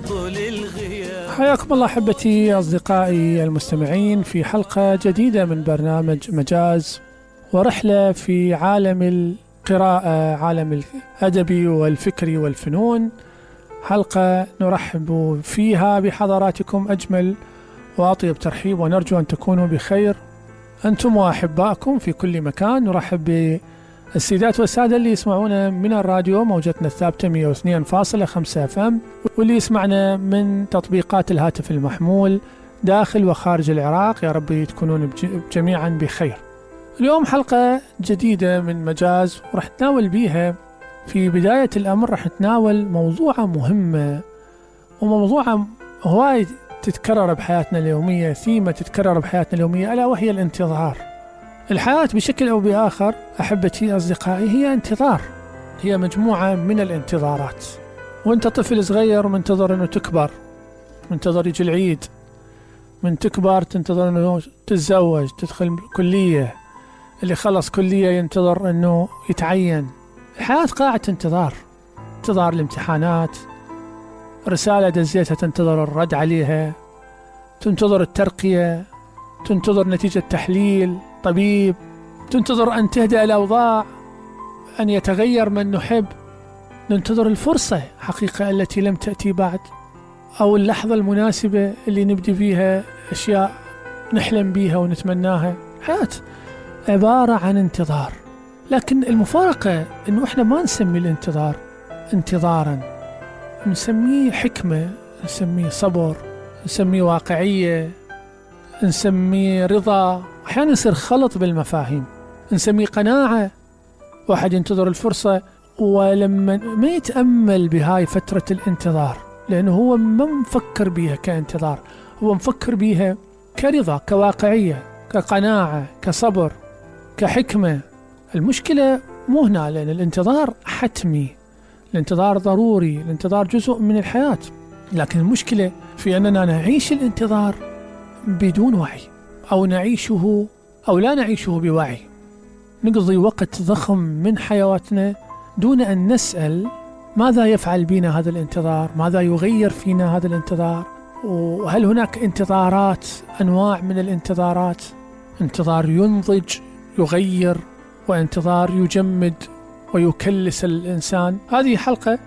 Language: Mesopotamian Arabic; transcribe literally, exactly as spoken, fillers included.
طول الغياب. حياكم الله أحبتي أصدقائي المستمعين في حلقة جديدة من برنامج مجاز ورحلة في عالم القراءة، عالم الأدبي والفكري والفنون. حلقة نرحب فيها بحضراتكم أجمل وأطيب ترحيب، ونرجو أن تكونوا بخير أنتم وأحبائكم في كل مكان. نرحب بالسيدات والسادة اللي يسمعونا من الراديو موجتنا الثابتة مئة واثنين فاصلة خمسة اف ام، واللي يسمعنا من تطبيقات الهاتف المحمول داخل وخارج العراق. يا رب تكونون جميعا بخير. اليوم حلقة جديدة من مجاز، ورح نتناول بيها في بداية الأمر رح نتناول موضوع مهمة، وموضوع هواي تتكرر بحياتنا اليومية، ثيمة تتكرر بحياتنا اليومية، ألا وهي الانتظار. الحياة بشكل أو بآخر أحبتي أصدقائي هي انتظار، هي مجموعة من الانتظارات. وانت طفل صغير منتظر أنه تكبر، منتظر يجي العيد، من تكبر تنتظر أنه تتزوج، تدخل كلية، اللي خلص كلية ينتظر أنه يتعين. الحياة قاعة انتظار، انتظار الامتحانات، رسالة دزيتها تنتظر الرد عليها، تنتظر الترقية، تنتظر نتيجة تحليل طبيب، تنتظر أن تهدأ الأوضاع، أن يتغير من نحب، ننتظر الفرصة حقيقة التي لم تأتي بعد، أو اللحظة المناسبة اللي نبدي فيها أشياء نحلم بيها ونتمناها. حياة عبارة عن انتظار، لكن المفارقة أنه إحنا ما نسمي الانتظار انتظارا، نسميه حكمة، نسميه صبر، نسميه واقعية، نسميه رضا. أحيانا يصير خلط بالمفاهيم، نسميه قناعة. واحد ينتظر الفرصة ولما ما يتأمل بهاي فترة الانتظار، لأنه هو ما مفكر بيها كانتظار، هو مفكر بيها كرضا، كواقعية، كقناعة، كصبر، كحكمة. المشكلة مو هنا، لأن الانتظار حتمي، الانتظار ضروري، الانتظار جزء من الحياة، لكن المشكلة في أننا نعيش الانتظار بدون وعي، أو نعيشه أو لا نعيشه بوعي. نقضي وقت ضخم من حياتنا دون أن نسأل ماذا يفعل بنا هذا الانتظار، ماذا يغير فينا هذا الانتظار، وهل هناك انتظارات، أنواع من الانتظارات، انتظار ينضج يغير، وانتظار يجمد ويكلس الإنسان. هذه حلقة